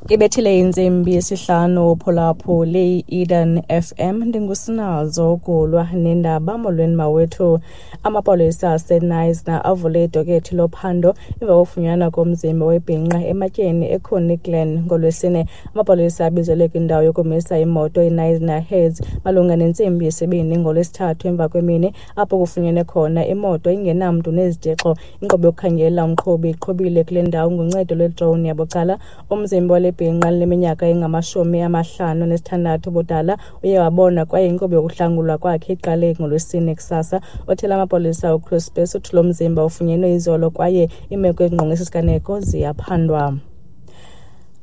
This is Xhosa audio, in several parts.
Ibethile intsimbi yesihlanu uphulaphuli i-Eden FM. Ndingusinazo Gulwa nendaba. Molweni mawethu. Amapolisa aseKnysna avule idokethi lophando emva kokufunyanwa komzimba webhinqa ematyeni eConnie Glen ngoLwesine. Amapolisa abizelwe kwindawo yokumisa imoto iKnysna Heads malunga nentsimbi yesibini ngoLwesithathu emva kwemini, apho kufunyenwe khona imoto ingenamntu nezitshixo. Inkqubo yokukhangela umqhubi iqhubile kule ndawo ngoncedo lwedrone yabucala. Umzimba wale bhinqa lineminyaka engama-56 ubudala uye wabonwa kwaye inkqubo yokuhlangulwa kwakhe iqale ngoLwesine kusasa. Othela amapolisa uChris Bess uthi lo mzimba ufunyenwe izolo kwaye iimeko ezingqonge esi siganeko ziyaphandwa.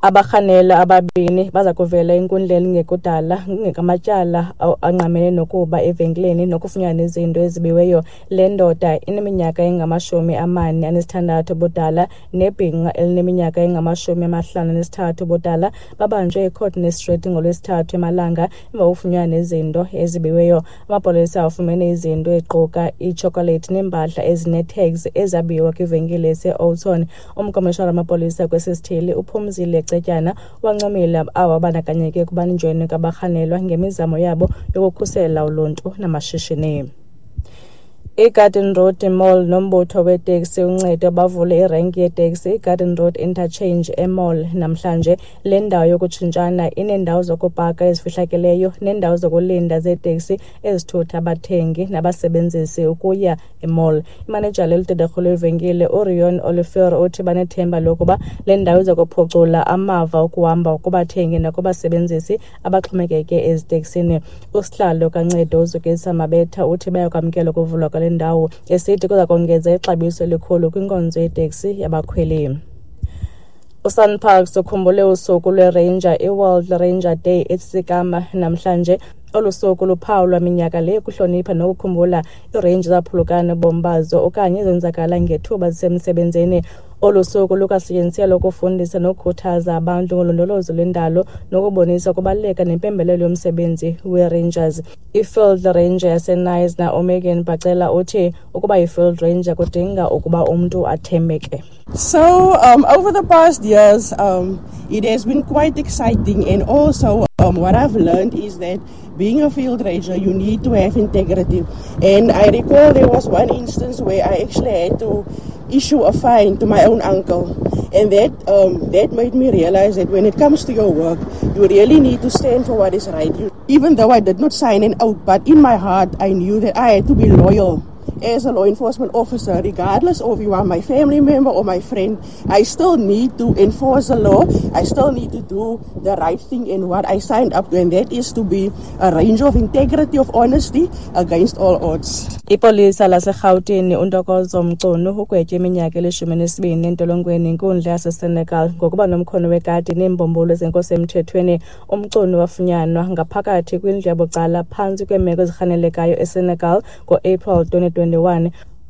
Abarhanelwa ababini baza kuvela enkundleni ngekudala ngamatyala angqamene nokuba evenkileni nokufunyanwa izinto ezibiweyo. Le ndoda ineminyaka engama-46 ubudala nebhinqa elineminyaka engama-53 ubudala babanjwe eCourtney Street ngoLwesithathu emalanga emva kokufunyanwa nezinto ezibiweyo. Amapolisa afumene izinto eziquka iitshokolethi neempahla ezinee-tags ezabiwa kwivenkile yaseOudtshoorn. Umkomishinala wamapolisa kwesi sithili uPhumzile Cetyana wancomile abo babandakanyeke ekubanjweni kwabarhanelwa ngemizamo yabo yokukhusela uluntu namashishini. IGarden Road Mall nombutho weeteksi uNcedo bavule irenki yeeteksi iGarden Road Interchange eMall namhlanje. Le ndawo yokutshintshana ineendawo zokupaka ezifihlakeleyo neendawo zokulinda zeeteksi ezithutha abathengi nabasebenzisi ukuya emall. Imanejala eludederhu lwevenkile uRion Olivier uthi banethemba lokuba le ndawo iza kuphucula amava okuhamba kubathengi nakubasebenzisi abaxhomekeke eziteksini. Usihlalo kaNcedo uZukisa Mabetha uthi bayakwamkela ukuvulwa kwale ndawo, esithi kuza kongeza ixabiso elikhulu kwinkonzo yeteksi yabakhweli. USANParks ukhumbule usuku lweRanger, iWorld Ranger Day, eTsitsikamma namhlanje. Olu suku luphawulwa minyaka le ukuhlonipha nokukhumbula iirenji ezaphulukana nobomi bazo okanye ezenzakala ngethuba zisemsebenzini. Olu suku lukwasetyenziselwa ukufundisa nokukhuthaza abantu ngolondolozo lwendalo nokubonisa ukubaluleka nempembelelo yomsebenzi weeRangers. I-Field Ranger yaseKnysna uMegan Bacela uthi ukuba yi-Field Ranger kudinga ukuba umntu athembeke. So over the past years, it has been quite exciting, and also what I've learned is that being a field ranger, you need to have integrity. And I recall there was one instance where I actually had to issue a fine to my own uncle, and that made me realize that when it comes to your work, you really need to stand for what is right. Even though I did not sign an oath, but in my heart I knew that I had to be loyal as a law enforcement officer, regardless of you are my family member or my friend. I still need to enforce the law. I still need to do the right thing in what I signed up to, and that is to be a ranger of integrity, of honesty against all odds. Ipolisa laseRhawutini uNtokozo Mchunu ugwetywe iminyaka eli-12 entolongweni inkundla yaseSenekal ngokuba nomkhono wekati neembumbulu zenkosi emthethweni. UMchunu wafunyanwa ngaphakathi kwindlu yabucala phantsi kweemeko ezirhanelekayo eSenekal ngo-April 2021.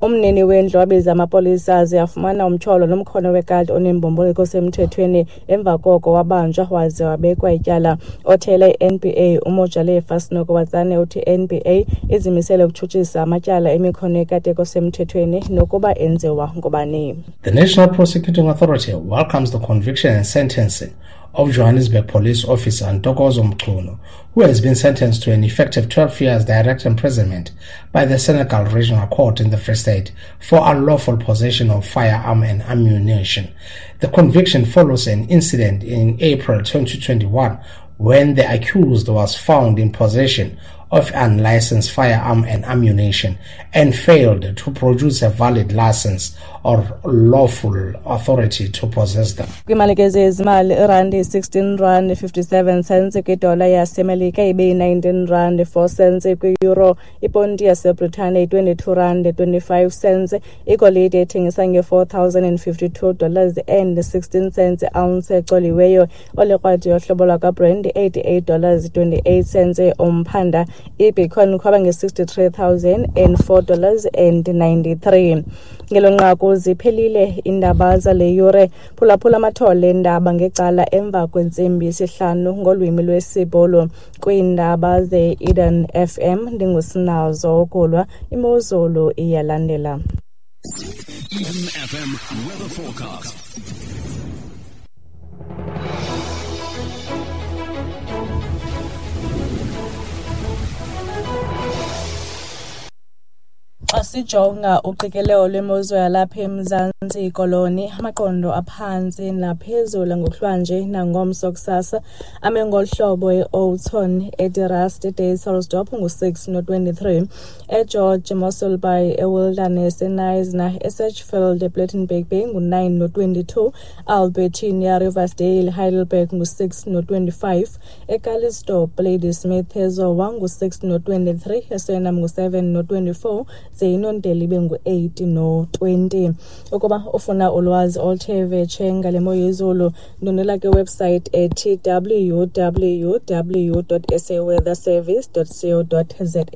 Umnini wendlu wabiza amapolisa aze afumana umtyholo nomkhono wekati oneembumbulu kosemthethweni. Emva koko wabanjwa waze wabekwa ityala. Othele i-NPA uMojalefa Senokoatsane uthi i-NPA izimisele ukutshutshisa amatyala emikhono yekati ekosemthethweni nokuba enziwa ngubani. The National Prosecuting Authority welcomes the conviction and sentencing of Johannesburg police officer Ntokozo Mchunu, who has been sentenced to an effective 12 years direct imprisonment by the Senekal Regional Court in the Free State for unlawful possession of firearm and ammunition. The conviction follows an incident in April 2021 when the accused was found in possession of unlicensed firearm and ammunition and failed to produce a valid license or lawful authority to possess them. Kwimalike zezimali, irandi 16 rand 57 cents kwidola yaseMelika, ibe yi-19 rand 4 cents kwi-euro, iponti yaseBritane yi-22 rand 25 cents, igolide ethengisa nge-$4,052 and 16 cents ounce ecoliweyo, olekrwada yohlobo lwakwaBrent $88 28 cents umphanda, ibitcoin khwaba nge-$63,004 and 93. Ngelo nqaku ziphelile iindaba zale yure. Phulaphula amathole eendaba ngecala emva kwentsimbi yesihlanu ngolwimi lwesiBhulu. Kwiindaba ze-Eden FM ndinguSinazo Gulwa. Imozulu iyalandela. Eden FM weather forecast. Xa sijonga uqikelelo lwemozulu yalapha eMzantsi Koloni, amaqondo aphantsi naphezulu ngokuhlwanje nangomso kusasa ame ngolu hlobo: e-Houghton, eDe Rust, eDysselsdorp ngu-6 no-23, eGeorge, Mossel Bay, eWilderness, eKnysna, eSedgefield, ePlettenberg Bay ngu-9 no-22, Albertinia, Riversdale, Heidelberg ngu-6 no-25, eCalitzdorp, Ladysmith, eZowa ngu-6 no-23, eSuriname ngu-7 no-24, ze iNontele ibe ngu-8 no-20. Ukuba ufuna ulwazi oluthe vetshe ngale mo yezulu, ndwendwela kwiwebsite ethi www.saweatherservice.co.za.